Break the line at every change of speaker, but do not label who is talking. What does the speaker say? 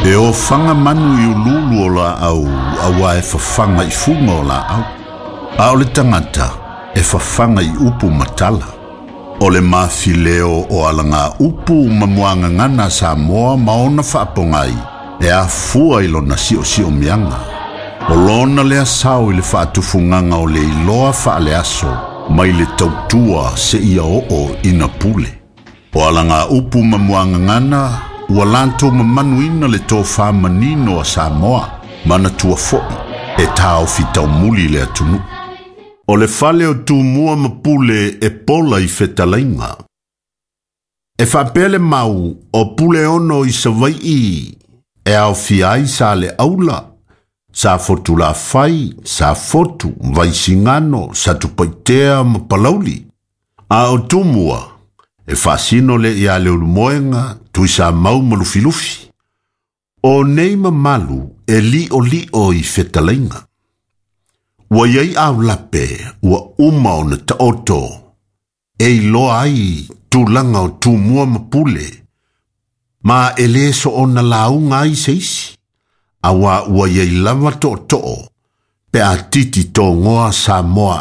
E ofaga manu i uluulu o laau auā e fafaga i fuga o laau. A o le tagata e fafaga i upu ma tala. O le mafileo o alagaupu ma muagagana a Samoa ma ona faapogai e afua i lona siosiomiaga. O lona lea sao i le faatufugaga o le iloa faaleaso mai le tautua seia oo ina pule. O alagaupu ma muagagana ua latou mamanuina le tofa manino a Samoa, manatua foi e taofi taumuli le atunuu. O le fale o Tumua ma Pule e pola i fetalaiga. E faapea le mau o Puleono i Savaii e aofia ai Saleaula, Safotulafai, Safotu, Vaisigano, Satupaitea ma Palauli. A o Tumua, e faasino lea ia Leulumoega, Tuisamau ma Lufilufi. O nei mamalu e li'oli'o i fetalaiga. Ua i ai aulape ua uma ona taoto e iloa ai tulaga o Tumua ma Pule, ma e lē soona lauga ai se isi, auā ua i ai lava tootoo pe a titi togoa Samoa.